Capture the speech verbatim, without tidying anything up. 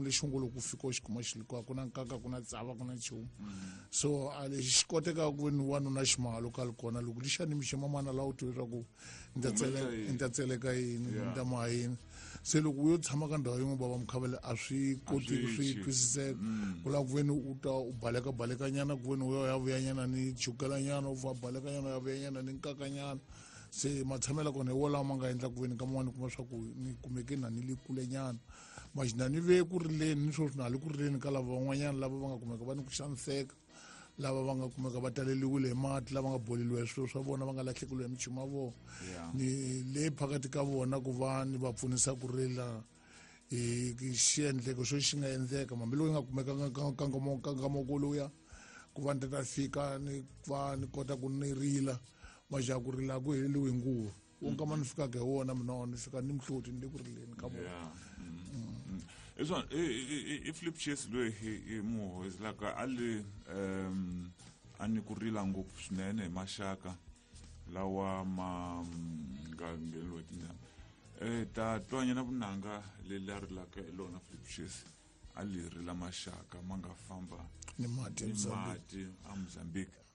Lexi ngo loko u fika u xi kuma xi ku na nkaka, ku na tsava, ku na nchumu. So a lexi xi kotekaka ku ni wanuna ximahalo ka li kona loko lixa ni mixi mamana laha u tiva leswaku ni ta tsele- ni ta tseleka yini, ni ta maha yini. Se loko u yo tshama ka ndhawu yin'we, bava Mukhavele, a swi kotiki swi twisiseka. Ku lava ku veni u ta u baleka balekanyana, ku veni u ya vuyanyana ni chukelanyana, u va balekanyana, u ya vuyanyana ni nkakanyana. Se matshamelo kona hi wolawo ma nga endla ku veni ka man'wani kuma swa ku ni kumeke na ni le kulenyana maxina, ni ve ku rileni ni sweswi na ha le ku rileni ka lava van'wanyana lava va nga kumeka va ni ku xaniseka, lava va nga kumeka va taleliwile hi mati, lava nga boleliwa hi swilo swa vona, va nga lahlekeliwa hi michumu ya vona. Ni le phakathi ka vona ku va ni va pfunisa ku rila hi xiendleko xo xi nga endleka, hambiloko yi nga kumekanga nkangamoko lowuya, ku va ni ta ta fika ni va ni kota ku ni rila. Majaha ku rila ku heleliwi hi nguva wo nkama ni fikaka hi wona, mina ni fika ni mihloti, ni le ku rileni ka vona. Hi swona, i Flip Chase loyi hi muhozelaka a le um a ni ku rila ngopfu swinene hi maxaka lawa ma nga ngheneliwa hi tinyama. um ta twanyana vunanga leri a rilaka hi lona Flip Chase, a li rila maxaka ma nga famba ni mati ni mati a Mozambique.